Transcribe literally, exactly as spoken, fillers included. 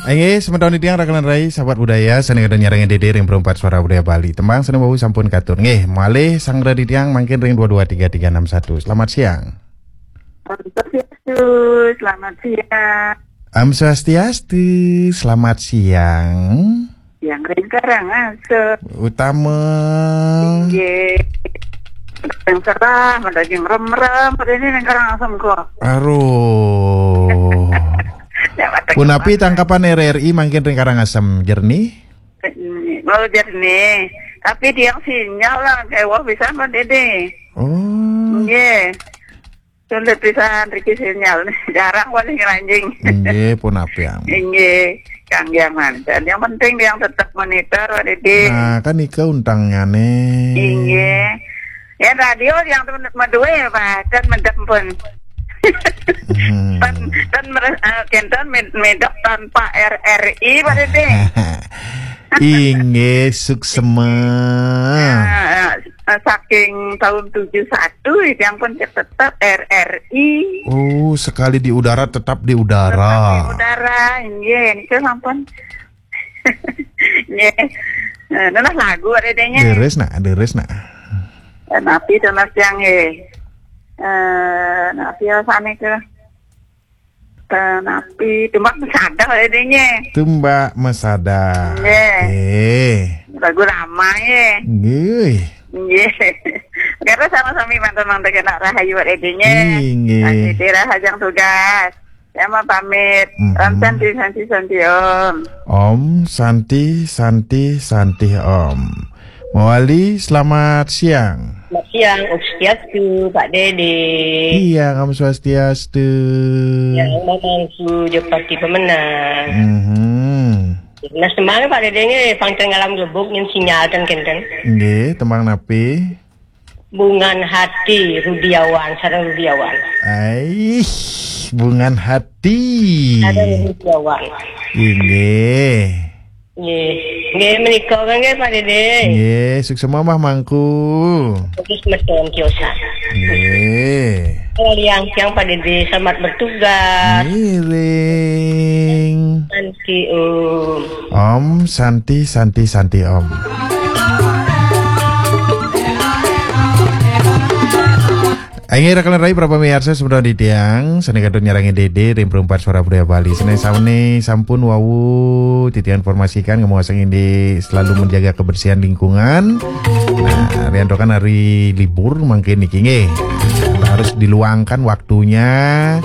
Inggih, semeton titiang raka lan rai, sahabat budaya, sané kadang nyarengin Dédé ring Perempat Suara Budaya Bali. Tembang sané wau sampun katur. Nggih, malih sanggra titiang mangkin ring dua dua tiga tiga enam satu. Selamat siang. Om Swastiastu, selamat siang. Om Swastiastu, selamat siang. Yang ring Karangasem. Utama. Nggih. Yang salah, ada yang rem-rem, ada ini yang Karangasem kok. Aduh. Ya, mata punapi kepala. Tangkapan R R I mangkin ring Karangasem, jernih? Oh, jernih. Tapi dia sinyal lah, kayak wah bisa mah Dédé. Oh. Nggih. Sulit pisan riki sinyal. Jarang paling ngranjing. Nggih, punapi, Ang. Nggih, kangge manten. Yang penting dia tetap monitor, Pak Dédé. Nah, kan nika untangnyane. Nggih. Ya, radio yang tu madue ya, Pak. Dan medep pun. Hmm. Tan, tan meres-, eh, kenten med-, medep tanpa R R I, Pak Dédé. Inggih, suksema. Eh, eh, saking tahun tujuh satu, yang pun tetap R R I. Oh, sekali di udara, tetap di udara. Tetap di udara, nggih, niku sampun. Nggih. Eh, nah, lagu ada denya. Deres nak, deres nak. Eh, napi to, Mas, yang, nggih. Eh, napi rasane ke? Tenapi, tumbak mesadah adanya. Tumbak mesadah. Nggih. Nggih. Lagu lama, nggih. Nggih. Nggih. Karo sama-sami mantan-mantan kena rahayu adanya. Nggih. Masih di rahajang tugas. Ya, mau pamit. Mhm. Om Santi, Santi, Santi, Om. Om Santi, Santi, Santi, Om. Mawali, selamat siang. Selamat siang, Om Swastiastu, Pak Dédé. Iya, Om Swastiastu. Ya, Mamangku, Jepati Pemenang. Mhm. Nah, semana Pak Dédé nggih, pangkeng alam gebuk, nyen sinyal ten kenten. Nggih, tembang napi? Bungan Hati, Rudiawan, sareng Rudiawan. Aih, Bungan Hati. Sareng Rudiawan. Inggih. Nggih. Nggih, menika kan nggih, Pak Dédé. Nggih, suksema mah mangku. Terus meton kiosan. Nggih. Kalau yang, yang Pak Dédé, selamat bertugas. Ngiring. Santi, Om. Om, Santi, Santi, Santi, Om. Inggih, raka lan rai, para pamirsa, semeton titiang, sané kadung nyarengin Dédé ring Perempat Suara Budaya Bali. Sané sami sampun wau titiang informasikan, ngamuasang indik selalu menjaga kebersihan lingkungan. Nah, riantukan hari libur mangkin niki nggih. Harus diluangkan waktunya.